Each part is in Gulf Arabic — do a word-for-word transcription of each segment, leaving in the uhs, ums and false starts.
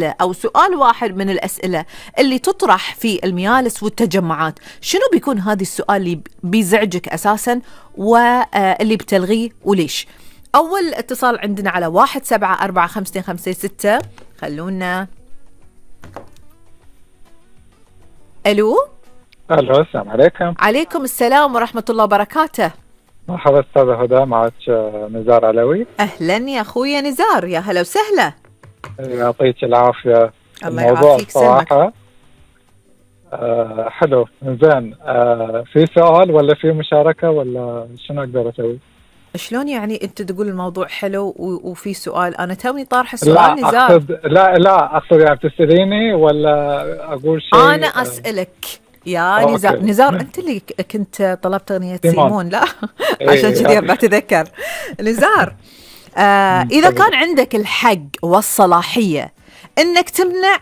أو سؤال واحد من الأسئلة اللي تطرح في الميالس والتجمعات، شنو بيكون هذا السؤال اللي بيزعجك أساساً واللي بتلغيه وليش؟ أول اتصال عندنا على واحد سبعة أربعة خمسة خمسة ستة. خلونا. ألو. ألو، السلام عليكم. عليكم السلام ورحمة الله وبركاته. مرحبا أستاذة هدى، معك نزار علوي. أهلا يا أخويا نزار، يا هلا وسهلا. يعطيك العافية. الله يعافيك. صراحة آه حلو. زين، آه في سؤال ولا في مشاركة ولا شنو أقدر أسوي؟ شلون يعني أنت تقول الموضوع حلو وفي سؤال؟ أنا توني طارح السؤال لا نزار. أقصد لا لا أقصد يعني بتسأليني ولا أقول شيء؟ أنا أسألك يا نزار. أوكي. نزار أنت اللي كنت طلبت أغنية سيمون لا عشان كذي بتذكر نزار. آه إذا كان عندك الحق والصلاحية إنك تمنع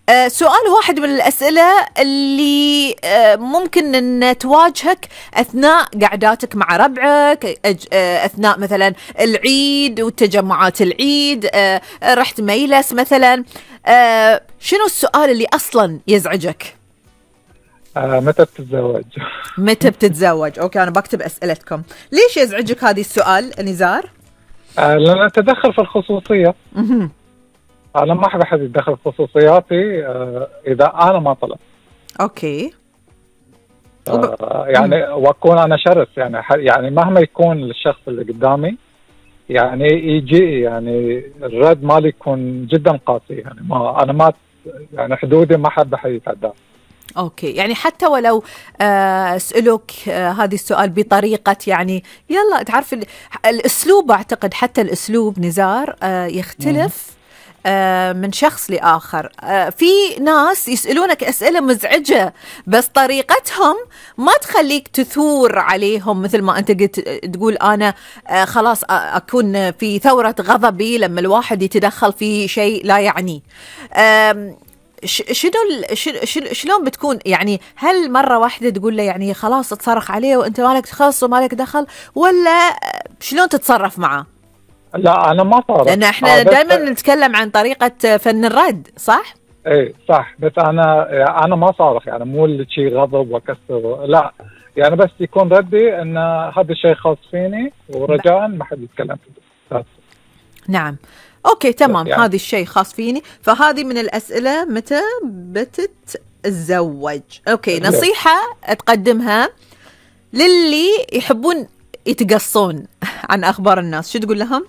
آه سؤال واحد من الأسئلة اللي آه ممكن أن تواجهك أثناء قعداتك مع ربعك، آه أثناء مثلا العيد وتجمعات العيد، آه رحت ميلس مثلا، آه شنو السؤال اللي أصلا يزعجك؟ آه متى بتتزوج؟ متى بتتزوج؟ أوكي، أنا بكتب أسئلتكم. ليش يزعجك هذه السؤال نزار؟ آه لأن تدخل في الخصوصية. أنا ما أحب أحد يتدخل في خصوصياتي آه إذا أنا ما طلبت. أوكي. آه يعني وأكون أنا شرس، يعني يعني مهما يكون الشخص اللي قدامي يعني يجي يعني الرد مالي يكون جدا قاسي، يعني ما أنا ما يعني حدودي ما أحب أحد يتعدى. أوكي، يعني حتى ولو آه أسألك آه هذه السؤال بطريقة يعني يلا تعرف الأسلوب، أعتقد حتى الأسلوب نزار آه يختلف آه من شخص لآخر. آه في ناس يسألونك أسئلة مزعجة بس طريقتهم ما تخليك تثور عليهم، مثل ما أنت قلت تقول أنا آه خلاص أكون في ثورة غضبي لما الواحد يتدخل في شيء لا يعني. آه شنو شلون بتكون يعني؟ هل مرة واحدة تقول له يعني خلاص تصرخ عليه وانت مالك تخص ومالك دخل، ولا شلون تتصرف معه؟ لا أنا ما صارخ، لأن احنا دائما نتكلم عن طريقة فن الرد، صح؟ ايه صح، بس أنا أنا ما صارخ، يعني مو اللي شيء غضب وكسر، لا يعني بس يكون ردي أن هذا الشيء خاص فيني ورجاء ما حد يتكلم فيه. نعم أوكي تمام، يعني. هذا الشيء خاص فيني. فهذه من الأسئلة متى بتتزوج. أوكي، نصيحة تقدمها للي يحبون يتقصون عن أخبار الناس، شو تقول لهم؟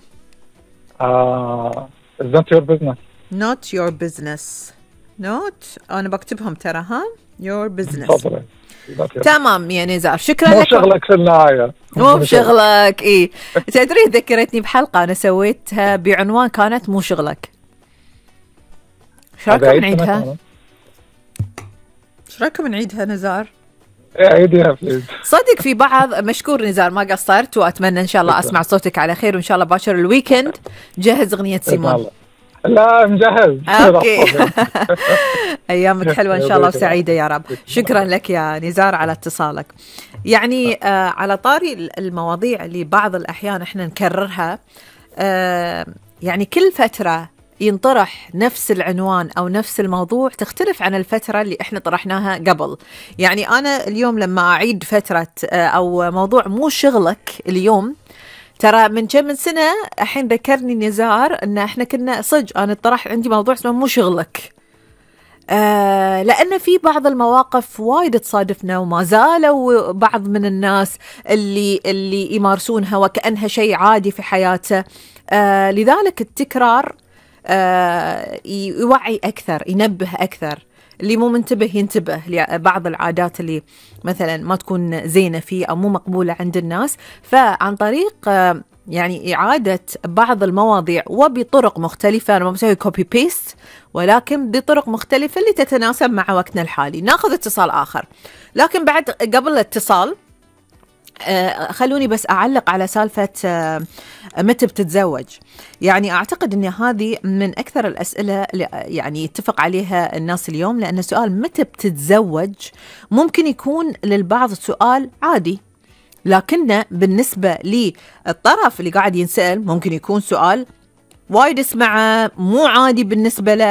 آه uh, it's not your business. not your business. not أنا بكتبهم ترى ها your business. صبري. تمام يا نزار، شكرا مو لك. شغلك في النهاية، مو بشغلك. إيه تدري ذكرتني بحلقة أنا سويتها بعنوان كانت مو شغلك. شو رايكم نعيدها؟ شو رايكم نعيدها نزار؟ عيديها بليز. صدق في بعض. مشكور نزار، ما قصرت، وأتمنى إن شاء الله أسمع صوتك على خير، وإن شاء الله باشر الويكند جهز أغنية سيمون. لا مجهز. اوكي. ايامك حلوه ان شاء الله وسعيده يا رب. شكرا لك يا نزار على اتصالك. يعني آه على طاري المواضيع اللي بعض الاحيان احنا نكررها، آه يعني كل فتره ينطرح نفس العنوان او نفس الموضوع، تختلف عن الفتره اللي احنا طرحناها قبل. يعني انا اليوم لما اعيد فتره آه او موضوع مو شغلك اليوم، ترى من كم من سنة الحين ذكرني نزار ان احنا كنا صج انا طرح عندي موضوع اسمه مو شغلك، آه لان في بعض المواقف وايد تصادفنا وما زالوا بعض من الناس اللي اللي يمارسونها وكأنها شيء عادي في حياته. آه لذلك التكرار آه يوعي اكثر، ينبه اكثر، اللي مو منتبه ينتبه لبعض العادات اللي مثلا ما تكون زينة فيه أو مو مقبولة عند الناس. فعن طريق يعني إعادة بعض المواضيع وبطرق مختلفة، أنا ما بسوي كوبي بيست، ولكن بطرق مختلفة اللي تتناسب مع وقتنا الحالي. ناخذ اتصال آخر، لكن بعد قبل الاتصال آه خلوني بس أعلق على سالفة آه متى بتتزوج. يعني أعتقد أن هذه من أكثر الأسئلة اللي يعني يتفق عليها الناس اليوم، لأن سؤال متى بتتزوج ممكن يكون للبعض سؤال عادي، لكنه بالنسبة للطرف اللي قاعد ينسأل ممكن يكون سؤال وايد اسمعه مو عادي بالنسبة له.